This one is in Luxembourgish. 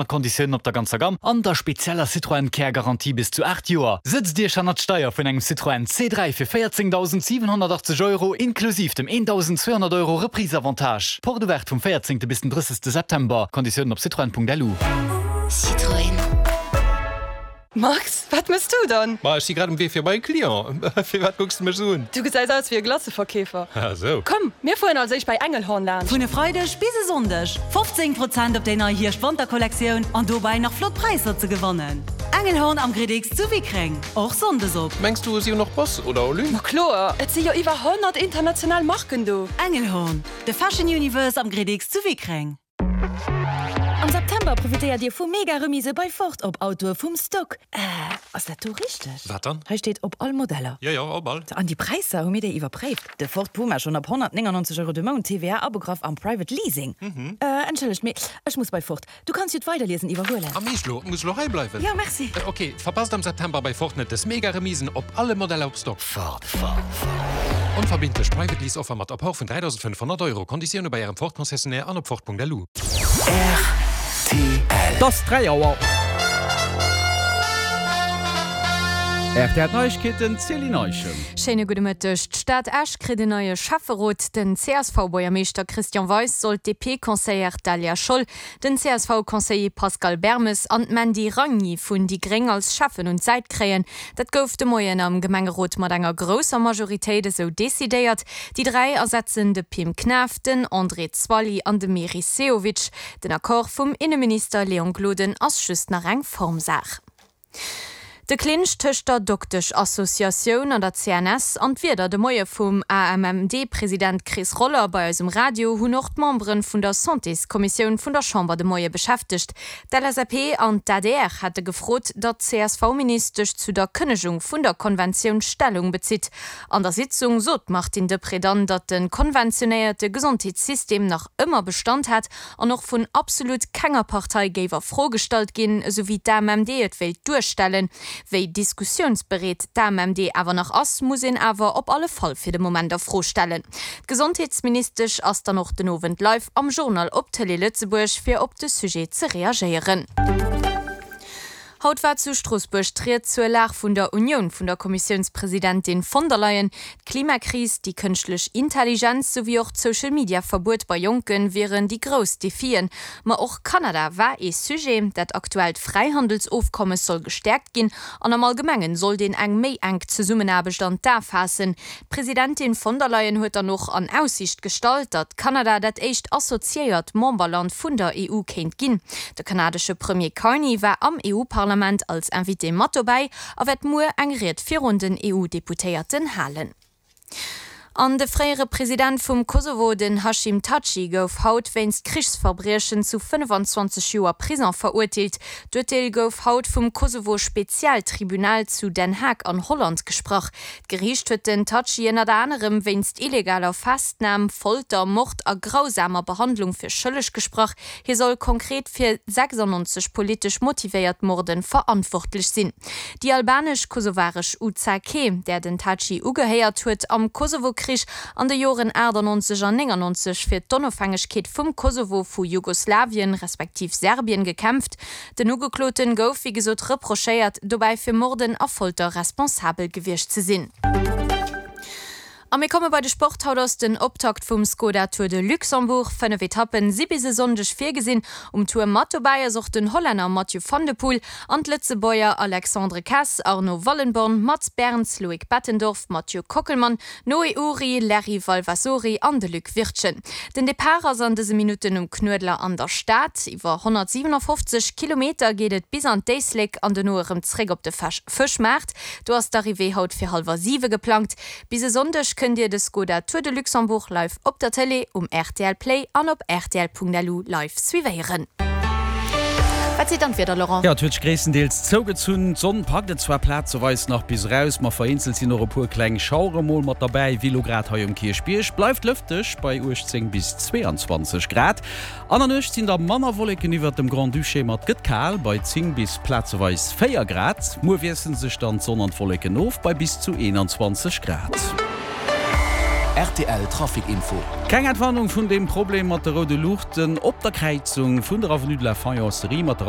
Mat Konditiounen op der ganzer Gamm an der spezieller Citroën Care Garantie bis zu 8 Joer. Sëtzt Iech hannert d'Steier vun engem Citroën C3 fir 14.780 Euro inklusiv dem 1.200 Euro Reprise-Avantage. Porte ouverte vum 14. bis den 30. September. Konditiounen op citroën.lu. Citroën. Max, wat mëss du dann? Ma ech si grad um Wee fir bei e Client. Firwat kucks de mech esou un? Du gesäis aus wéi e Glaceverkeefer. Ah sou. Komm, mir fueren als éischt bei Engelhorn laanscht. Vun e Freideg bis e Sonndeg 15 Prozent op déi nei Hierscht-Wanter-Kollektioun an dobäi nach flott Präisser ze gewannen. Engelhorn am Gridix zu Wickreng, och Sonndes op. Mengs du si hunn och Boss oder Olymp? Ma kloer, et si jo iwwer 100 international Marken do. Engelhorn, de Fashion Universe am Gridix zu Wickreng. Am September profitéiert Dir vu mega Remise bei Ford op Autoe vum Stock. Äh, ass dat do richteg? Wat dann? Hei steet op all Modeller. Jo, jo, op all. An déi Präisser, hu mir déi iwwerpréift? De Ford Puma schonn ab 199 Euro de Mount, TVA abegraff am Private Leasing. Äh, entschëllegt, mee ech muss bei Ford. Du kanns jo d'Weiderliesen iwwerhuelen. Am Eescht lo? Muss elo hei bleiwen? Jo, merci. Ok, verpasst am September bei Ford net des mega Remisen op alle Modeller op Stock. Ford, Ford, Ford. Onverbindlech Private Lease Offer mat Apport vun 3.500 Euro. Konditioune bei Ärem Ford Concessionnaire an op Ford.lu. Rtl. Et ass 3 Auer. Rtl Neiegkeeten, Céline Eischen. Schéine gudde Mëtteg. D'Stad Esch kritt en neie Schäfferot. Den CSV-Buergermeeschter Christian Weis soll d'DP-Conseillère Daliah Scholl, den CSV-Conseiller Pascal Bermes an d'Mandy Ragni vun déi Gréng als Schäffen un d'Säit kréien. Dat gouf de Moien am Gemengerot mat enger grousser Majoritéit esou decidéiert. Déi 3 ersetzen de Pim Knaff, den André Zwally an de Meris Sehovic. Den Accord vum Inneminister Léon Gloden ass just nach eng Formsaach. De Clinch tëscht der Dokteschassociatioun an der CNS an d'Wierder de Moie vum AMMD-President Chris Roller bei eis um Radio hunn och d'Membere vun der Santéskommissioun vun der Chamber de Moie beschäftegt. D'LSAP an d'ADR hate gefrot, datt d'CSV-Ministesch zu der Kënnegung vun der Konventioun Stellung bezitt. An der Sitzung sot d'Martine Deprez dann, datt de konventionéierte Gesondheetssystem nach ëmmer Bestand hätt an och vun absolut kenger Partei géif a Fro gestallt ginn, esou wéi d'AMMD et wéilt duerstellen. Wéi diskussiounsbereet d'AMMD awer nach ass, muss een awer op alle Fall fir de Moment a Fro stellen. D'Gesondheetsministesch ass dann och den Owend live am Journal op Tëlee Lëtzebuerg, fir op de Sujet ze reagéieren. Haut war zu Stroossbuerg d'Ried zur Lag vun der Unioun vun der Kommissiounspresidentin von der Leyen. D'Klimakris, déi kënschtlech Intelligenz souwéi och d'Social-Media-Verbuet bei Jonke wieren déi grouss Defien. Ma och Kanada war ee Sujet. Dat aktuellt Fräihandelsofkommes soll gestäerkt ginn an am Allgemengen sollt een eng méi enk Zesummenaarbecht an d'A faassen. D'Presidentin von der Leyen huet dann och an Aussiicht gestallt, datt Kanada dat éischt associéiert Memberland vun der EU kéint ginn. De kanadesche Premier Carney war am EU-Parlament als Invité mat dobäi a wäert muer eng Ried virun den EU-Deputéierten halen. An de fréiere President vum Kosovo, den Hashim Thaçi, gouf haut wéinst Krichsverbriechen zu 25 Joer Prison verurteelt. D'Urteel gouf haut vum Kosovo-Spezialtribunal zu Den Haag an Holland gesprach. D'Geriicht huet den Thaçi ënnert anerem wéinst illegaler Festnam, Folter, Mord a grausamer Behandlung fir schëlleg gesprach. Hie soll konkret fir 96 politesch motivéiert Morde verantwortlech sinn. Déi albanesch-kosovaresch UCK, där den Thaçi ugehéiert, huet am Kosovo-Krich an de Joren 98 an 99 fir d'Onofhängegkeet vum Kosovo vu Jugoslawien respektiv Serbien gekämpft. Den Ugekloten gouf wéi gesot reprochéiert, dobäi fir Morden a Folter responsabel gewiescht ze sinn. A mir komme bei de Sport. Haut ass den Optakt vum Skoda Tour de Luxembourg. 5 Etappen si bis e Sonndeg virgesinn. Um Tour mat dobäi ass och den Hollänner Mathieu van der Poel an d'Lëtzebuerger Alexandre Kess, Arno Wallenborn, Mats Berns, Loïc Bettendorf, Mathieu Kockelmann, Noé Uri, Larry Valvasori an de Luc Wirtgen. Den Depart ass an dëse Minutten um Knuedler an der Stad. Iwwer 157 Kilometer geet et bis an d'Éislek an dono erëm zréck op de Fëschmaart. Do ass d'Arrivée haut fir hallwer siwe geplangt. Bis e Sonndeg kënnt Dir de Skoda Tour de Luxembourg live op der Tëlee, um rtl Play an op rtl.lu live suivéieren. Wat seet dann d'Wieder, Laurent? Jo, et huet sech gréisstendeels zougezunn. D'Sonn packt et zwar plazeweis nach bis eraus, ma vereenzelt sinn och e puer kleng Schauere mol mat derbäi, wéi lo grad hei um Kierchbierg. Bleift lëfteg bei 18 bis 22 Grad. An der Nuecht sinn da manner Wolleken iwwert dem Grand-Duché, ma et gëtt kal bei 10 bis plazeweis 4 Grad. Muer wiessele sech dann d'Sonn an d'Wolleken of bei bis zu 21 Grad. Rtl Trafic Info. Keng Entwarnung vun deem Problem mat de roude Luuchten op der Kräizung vun der Avenue de la Faïencerie mat der Allée.